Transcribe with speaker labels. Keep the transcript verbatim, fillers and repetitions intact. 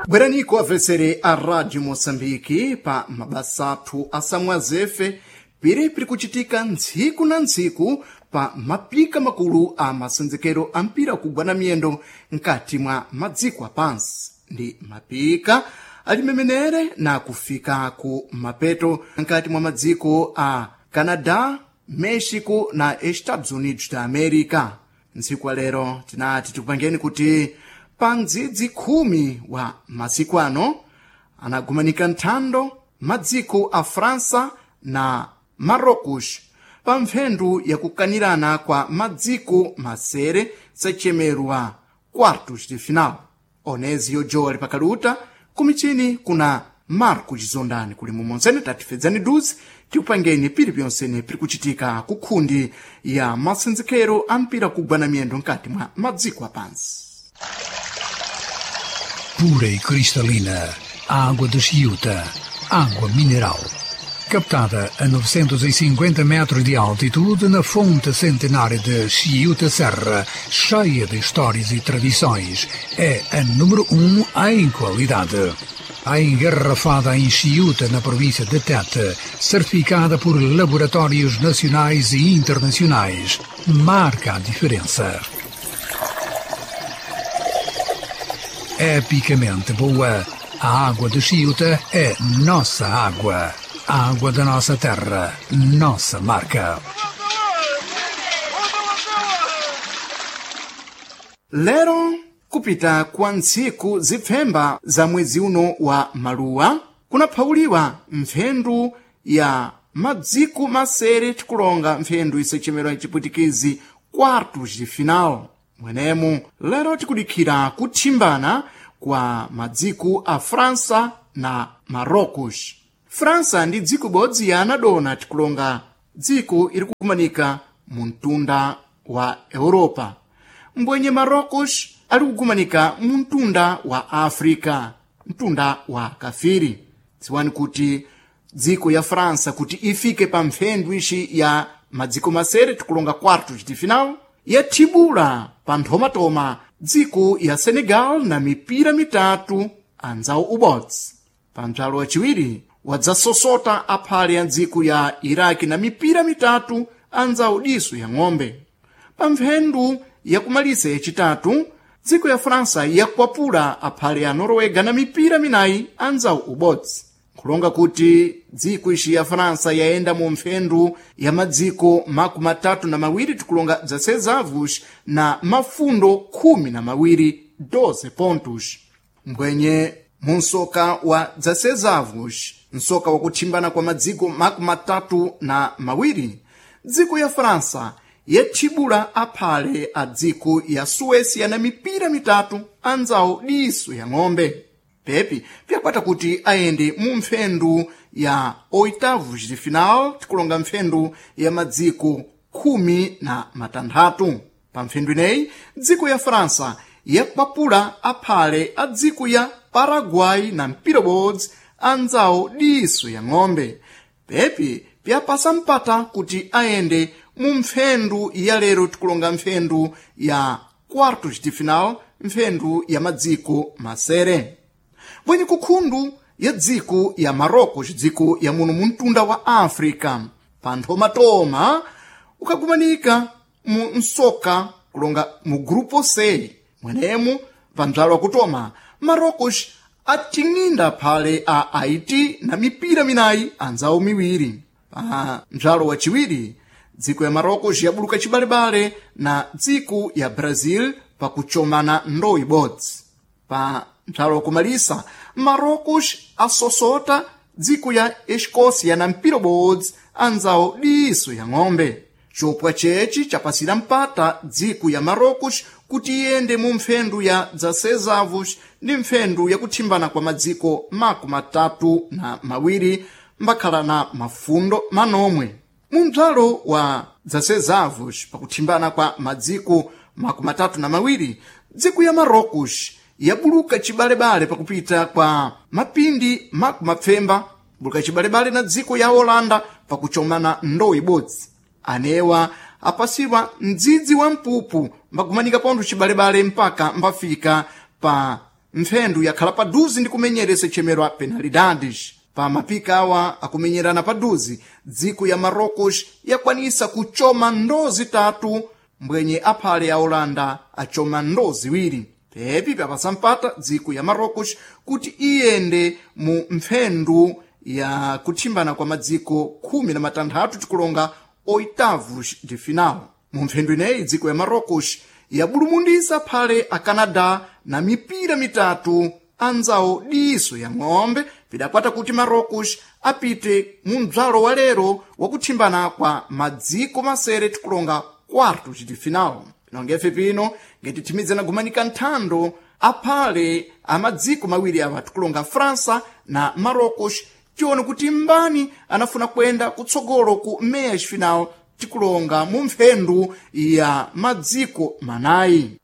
Speaker 1: Bweraniko abvesere a Rádio Moçambique pa mabasa athu asamwazefe piri piri kuchitika ntsiku na ntsiku pa mapika makulu a masenzekero a mpira kugwa na miyendo mkati mwa madziko apansi ndi mapika alimemenere na kufika ku mapeto mkati mwa madziko a Canadá, México na Estados Unidos da América. Ntsiku wa lero tinati tikupangeni kuti pa ndzidzi khumi wa masiku ano anagumanika nthando madziko a França na Marrocos pa mphendu yakukanirana kwa madziko masere sachemerwa quartos de final. Onezi yojowa lipakaluta kumichini kuna Marco Chizondani kuli mumonsene tatifedzani duzi tikupangeni pili pyonsene pili kuchitika kukhundi ya masenzekero a mpira kugwa na miyendo mkati mwa madziko apansi.
Speaker 2: Pura e cristalina, a água de Chiuta, água mineral. Captada a novecentos e cinquenta metros de altitude na fonte centenária de Chiuta Serra, cheia de histórias e tradições, é a número um em qualidade. A engarrafada em Chiuta, na província de Tete, certificada por laboratórios nacionais e internacionais, marca a diferença. Epicamente boa, a água de Chiuta é nossa água. A água da nossa terra, nossa marca.
Speaker 1: Lero kupita kwa ntsiku zipfemba za mwezi uno wa maluwa kunaphawuliwa mphendu ya madziko masere tikulonga mphendu isechemerwa mchipwitikizi quartos de final. Mwenemu lero tikudikhira kuthimbana kwa madziko a França na Marrocos. França ndi dziko bodzi ya anadona tikulonga dziko iri kugumanika mu mtunda wa Europa. Mbwenye Marrocos ali kugumanika mu mtunda wa Africa, mtunda wa kafiri. Dziwani kuti dziko ya França kuti ifike pa mphendu ixi ya madziko masere tikulonga quartos de final yathibula pa nthomatoma dziko ya Senegal na mipira mitatu anzawo ubodzi. Pa mdzalo wachiwiri wadzasosota aphale ya dziko ya Iraki na mipira mitatu anzawo diso ya ng'ombe. Pa mphendu yakumalisa yachitatu dziko ya França yakwapula aphale ya Noruega na mipira minayi anzawo ubodzi. Nkulonga kuti dziko ixi ya França yayenda mu mphendu ya madziko makumi atatu na mawiri tikulonga bzasezavus na mafundo khumi na mawiri doze pontos. Mbwenye mu nsoka wa dzasezavus, nsoka wakuthimbana kwa madziko makumi atatu na mawiri, dziko ya França yathibula aphale a dziko ya Suécia na mipira mitatu anzawo diso ya ng'ombe. Pepi pyakwata kuti ayende mu mphendu ya oitavos de final tikulonga mphendu ya madziko khumi na matanthatu. Pa mphendu ineyi dziko ya França yakwapula aphale a dziko ya Paraguay na mpira bodzi anzawo diso ya ng'ombe. Pepi pyapasa mpata kuti ayende mu mphendu ya lero tikulonga mphendu ya quartos de final, mphendu ya madziko masere. Bwenye kukhundu ya dziko ya Marrocos, dziko ya muno mu mtunda wa Africa, pa nthomatoma ukagumanika mu nsoka kulonga mu grupo C. Mwenemu pa mdzalo wakutoma Marrocos ating'inda phale a Haiti na mipira minayi anzawo miwiri. Pa mdzalo wachiwiri dziko ya Marrocos yabuluka chibalebale na dziko ya Brazil pakuchomana ndowe ibodzi. Pa mdzalo wakumalisa Marrocos asosota dziko ya Escócia na mpira bodzi anzawo diso ya ng'ombe. Chopwa checi chapasira mpata dziko ya Marrocos kuti iyende mu mphendu ya dzasezavos ndi mphendu yakuthimbana kwa madziko makumi atatu na mawiri mbakhala na mafundo manomwe. Mu mdzalo wa dzasezavos pakuthimbana kwa madziko makumi atatu na mawiri, dziko ya Marrocos yabuluka chibalebale pakupita kwa mapindi makumi mapfemba buluka chibalebale na dziko ya Holanda pakuchomana ndowe ibodzi. Anewa apasiwa mdzidzi wa mpupu mbakumanika pontho chibalebale mpaka mbafika pa Mphendu yakhala paduzi ndi kumenyeresa ichemerwa penalidades. Pa mapika awa akumenyerana paduzi, dziko ya Marocos yakwanisa kuchoma ndo zitatu, mbwenye aphale ya Holanda achoma ndo ziwiri. Pepi papasampata dziko ya Marocos kuti iyende mu mphendu ya kuthimbana kwa madziko khumi na matanthatu, tikulonga oitavos de final. Mu mphendu ineyi dziko ya Marocos yabulumundisa phale a Canadá na mipira mitatu anzawo diso ya ng'ombe. Pidakwata kuti Marocos apite mu mdzalo wa lero wakuthimbana kwa madziko masere, tikulonga quartos de final. Pinongefe pino ngetithimidzana gumanika nthando aphale a madziko mawiri awa, tikulonga França na Marocos, tione kuti mbani anafuna kuyenda kutsogolo ku meias final, tikulonga mu mphendu ya madziko manayi.